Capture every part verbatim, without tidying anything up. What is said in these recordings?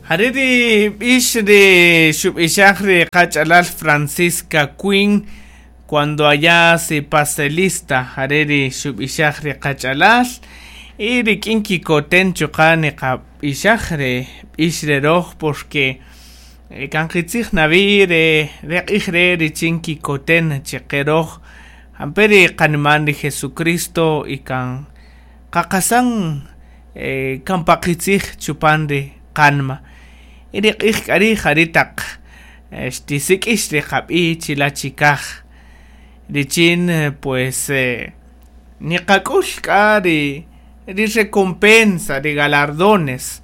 Jare' ri b'ix ri xub'ixaj ri qach'alal Francisca Quinn cuando allá se pase lista jare' ri xub'ixaj ri qach'alal y rik'in kikoten chuqa' niqab'ixaj re b'ix re roj porque kan qitzij nawi re re q'ij re' richin kikoten cheqe roj jampe' ri qaniman ri Jesucristo y kan qaqasan eh, kan paqitzij chupan ri qanma y ri q'ij k'a ri' jari' taq xtisik'ix ri qab'i' chila' chikaj richin pues eh, niqak'ul k'a ri ri recompensa ri galardones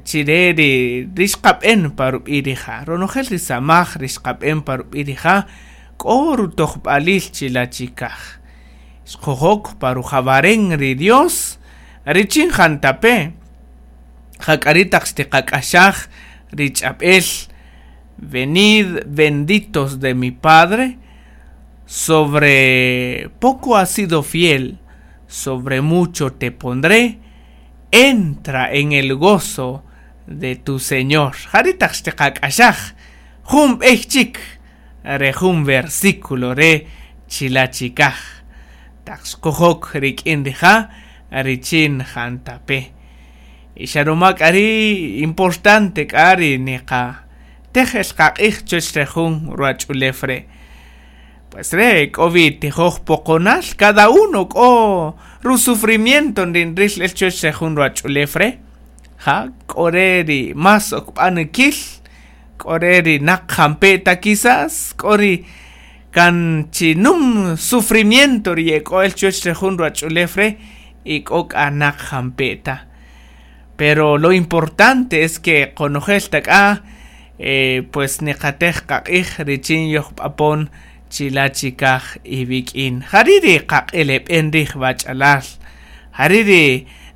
chire ri ri xqab'en pa rub'i' rija' ronojel ri samaj ri xqab'en pa rub'i' rija' k'o rutojb'alil chila' chikaj xqojok pa rujawaren ri Dios richin jantape' jak'a ri' taq xtiqak'axaj ri ch'ab'el venid benditos de mi Padre sobre poco has sido fiel sobre mucho te pondré entra en el gozo de tu Señor jari' taq xtiqak'axaj jun b'ey chik re jun versículo re chila' chikaj taq xqojok rik'in rija' richin jantape' y xaruma k'a ri' importante k'a ri niqa tejel qaq'ij chuwach re jun ruwach'ulew re' pues re' k'o wi tijoj poqonal cada uno k'o rusufrimiento nrinril el chuwach re jun ruwach'ulew re' ja k'o re ri más okb'anikil k'o re ri naq jampe' ta quizás k'o ri kan chinum sufrimiento ri yek'o el chuwach re jun ruwach'ulew re' y k'o k'a naq jampe' ta pero lo importante es que qonojel ta k'a eh, pues niqatej qaq'ij richin yojb'apon chila' chikaj iwik'in jari' ri qaq'eleb'en riij wach'alal jari' ri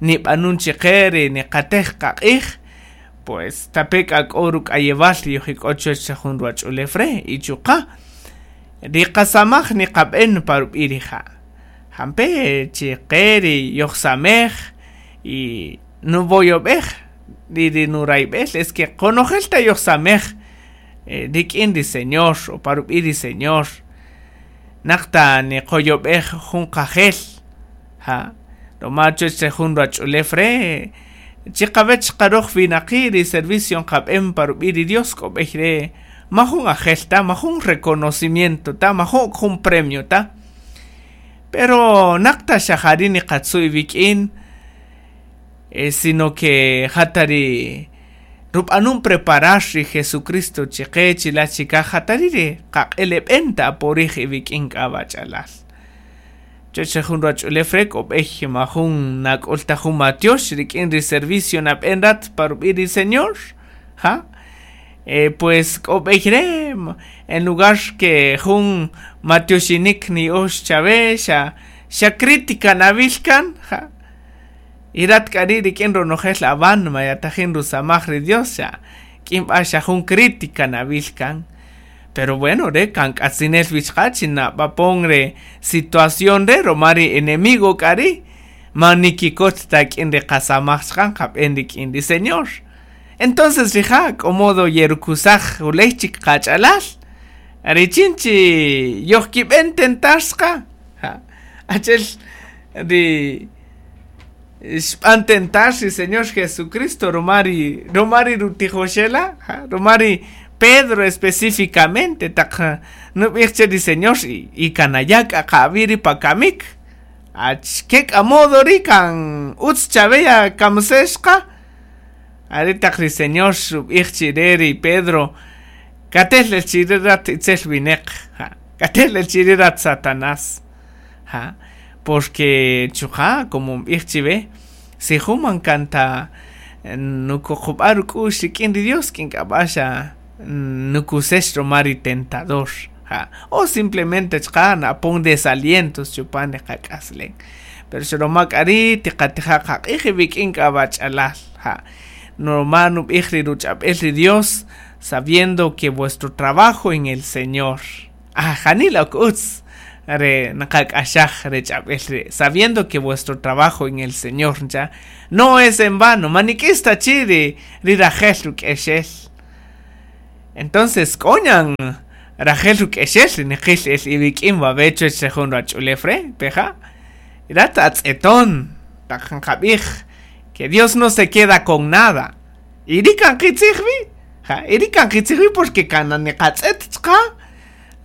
nib'anun cheqe ri niqatej qaq'ij pues tape' k'a k'o ruk'ayewal yojik'o chuwach re jun ruwach'ulew re' y chuqa' ri qasamaj niqab'en pa rub'i' rija' jampe' cheqe ri yojsamej y nuvoyob'ej ri ri nurayb'el es que qonojel ta yojsamej eh, rik'in ri Señor o pa rub'i' ri Señor naq ta niqoyob'ej jun qajel ja roma chuwach re jun ruwach'ulew re' chiqawech qaroj winaqi' ri servicio nqab'en pa rub'i' ri Dios k'o b'ey re' majun ajel ta majun reconocimiento ta majun jun premio ta pero naq ta xa jari' niqatzu' iwik'in eh, sino que jata ri rub'anun preparar ri Jesucristo cheqe chila' chikaj jatari ri qaq'eleb'en ta porij iwik'in k'a wach'alal chuwach re jun ruwach'ulew re' k'o b'ey majun nak'ul ta jun matiox rik'in ri servicio nab'en rat pa rub'i' ri Señor ja eh, pues k'o b'ey re' en lugar que jun matioxinik ni'ox chawe xa xa crítica nawil kan ja y rat k'a ri' rik'in ronojel awan mayatajin rusamaj ri Dios xa k'in b'a xa jun crítica nawil kan pero bueno re kan k'atzinel wichqa chinab'apon re situación re roma ri enemigo k'a ri' man nikikot ta k'in ri qasamaj chqan qab'en rik'in ri Señor entonces rija' k'o modo yerukusaj juley chik qach'alal richin chi yojkib'en tentar sqa ja achel ri xb'an tentar ri Señor Jesucristo romari romari rutijoxela ja romari Pedro específicamente taq nub'ij che ri Señor y, y kanaya k'a qawiri pakamik achke k'a modo ri kan utz chaweya kamsexqa ari taq ri Señor xub'ij chire ri Pedro katel el chire rat itzel wineq ja katel el chire rat Satanás ja porque chuqa como nb'ij chiwe si jun man kanta nukuqub'a ruk'u'x rik'in ri Dios k'in k'ab'a xa nukusex roma ri tentador ja o simplemente chqa napon desalientos chupan ri qak'aslen pero xroma k'a ri' tiqatija' qaq'ij iwik'in k'a wach'alal ja roma nub'ij ri ruch'ab'el ri Dios sabiendo que vuestro trabajo en el Señor ah janila ok utz Re nqak'axaj re ch'ab'el re sabiendo que vuestro trabajo en el Señor ncha no es en vano manik'ista chi ri ri rajel ruk'exel. Entonces k'oñan rajel ruk'exel ri niqil el iwik'in wawe chuwach re jun ruwach'ulew re peja rat atz'eton taq nqab'ij que Dios no se queda con nada y ri kan qitzij wi ja y ri kan qitzij wi porque kan niqatz'et chqa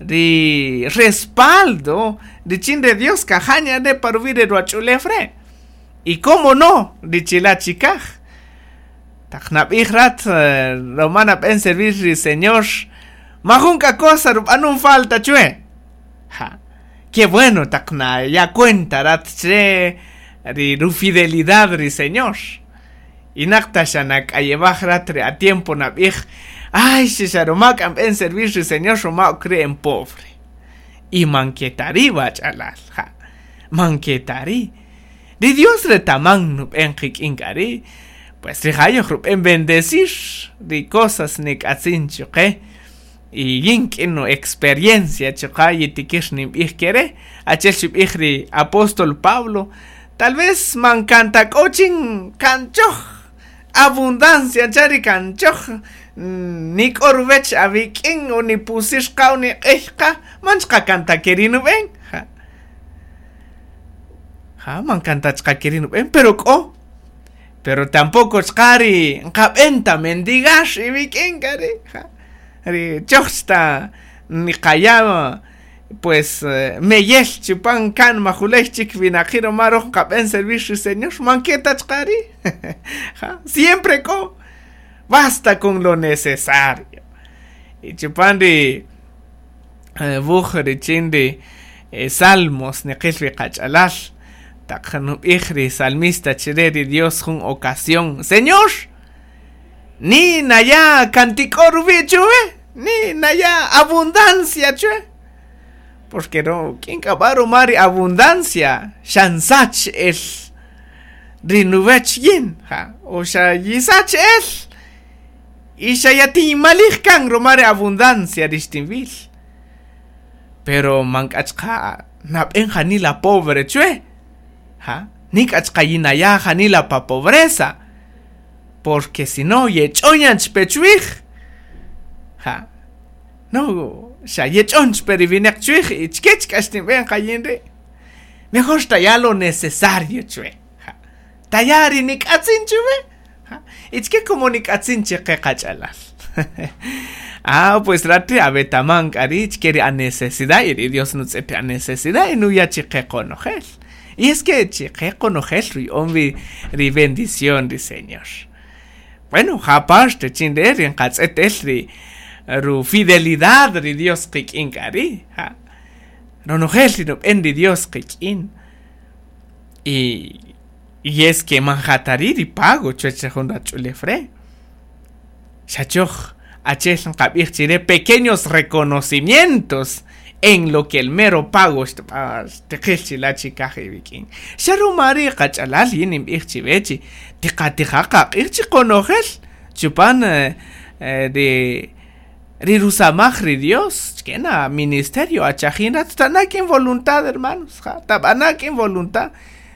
ri respaldo richin de Dios kajaña re paruwi' re ruwach'ulew re y cómo no richila chikaj taq nab'ij rat roma nab'en servir ri Señor majun k'a cosa rub'anun falta chwe ja qué bueno taq na ya cuenta rat che ri rufidelidad ri Señor y naqta xa nak'ayewaj rat re a tiempo nab'ij ay xa roma k'amb'en servir ri Señor roma okre en pobre y manketari wach'alal ja manketari ri Dios retaman nub'en qik'in k'ari pues ri jayoj rub'en bendecir ri cosas nik'atzin chuqe y yin k'in no experiencia chuqa yitikir ninb'ij kere achel xub'ij ri apóstol Pablo tal vez mankantak'ochin kanchoj abundancia chari kanchoj nik'orwech awik'in o nipusixqa o niq'ejqa manchqa kantakerin ub'en ja ja mankantachqa kerin ub'en pero k'o pero tampoco chqari nqab'enta mendigar iwik'in k'ari ja ri chojchta niqaya pues meyel chupan kan majulej chik winaqi roma roj nqab'en servir ri Señor manketa chqari ja siempre k'o basta con lo necesario y chupan ri wuj richin ri Salmos niqil ri qach'alal taq nub'ij ri salmista chire ri Dios jun ocasión Señor ni naya kantik'o ruwi' chuwe ni naya abundancia chuwe porque no k'in k'ab'a roma ri abundancia xansach el ri nuwech yin ja o xa yisach el y xa yatinmalij kan roma ri abundancia rixtinwil pero mank'achqa nab'en janila pobre chwe ja nik'achqa yinaya janila pa pobreza porque si no yech'oñan chpechwij ja no xa yech'on chperiwineq chwij y chkech k'axtinb'en qayin ri' mejor taya lo necesario chwe ja taya ri nik'atzin chuwe ja y chke como nik'atzin chiqe qach'alal ah pues rati abetaman k'ari chke ri a necesidad y ri Dios nutz'et a necesidad y nuya chiqe qonojel y es que chiqe qonojel ruy'on wi ri bendición ri Señor bueno ja parte chin re ri nqatz'et el ri ru fidelidad ri Dios qik'in k'ari ja ronojel ri nub'en ri Dios qik'in y y es que manjatari ri pago chuwach re jun rach'ulew re xachoj achel nqab'ij chire pequeños reconocimientos en lo que el mero pago xtiqil chila chikaj iwik'in xa ruma ri qach'alal yin ninb'ij chiwechi tiqatija qaq'ij chi qonojel chupan ri ri rusamaj ri Dios chkena ministerio achajin rat ta'na k'in voluntad hermanos ja tab'ana k'in voluntad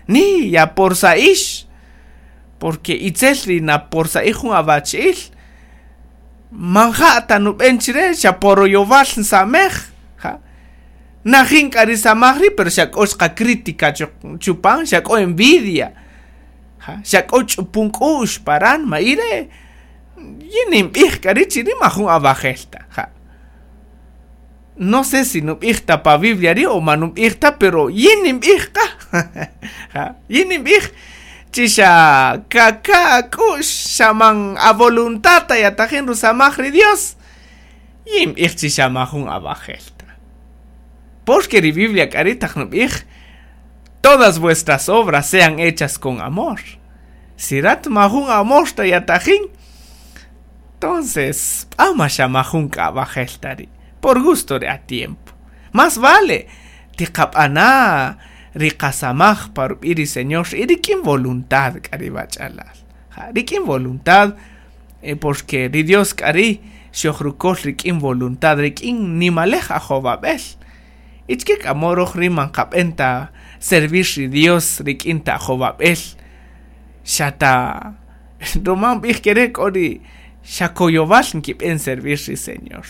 ni ya por sa'ix porque itzel ri na por sa'ij jun awach'il manja ta nub'en chire xa poroyowal nsamej ja najin k'a ri samaj ri pero xa k'o xqa crítica chupan xa k'o envidia ja xa k'o ch'upun k'u'x paran ma'ire yin ninb'ij k'a ri chiri majun awajel ta ja no sé si nub'ij ta pa Biblia ri o ma nub'ij ta pero yin ninb'ij qa ja yin ninb'ij chi xa kaka k'u'x xa man a voluntad ta yatajin rusamaj ri Dios yin b'ij chi xa majun awajel ta porque ri Biblia k'a ri taq nub'ij todas vuestras obras sean hechas con amor si rat majun amor ta yatajin entonces p'ama xa majun k'ab'ajel ta ri por gusto re a tiempo más vale tiqab'ana ri qasamaj pa rub'i ri Señor y rik'in voluntad k'a ri wach'alal ja rik'in voluntad eh, porque ri Dios k'a ri xojrukol rik'in voluntad rik'in nimalej ajowab'el Achike k'a mo roj ri man qab'en ta servir ri Dios rik'in ta ajowab'el xa ta ruma nb'ij kere' k'o ri xa koyowal nkib'en servir ri Señor.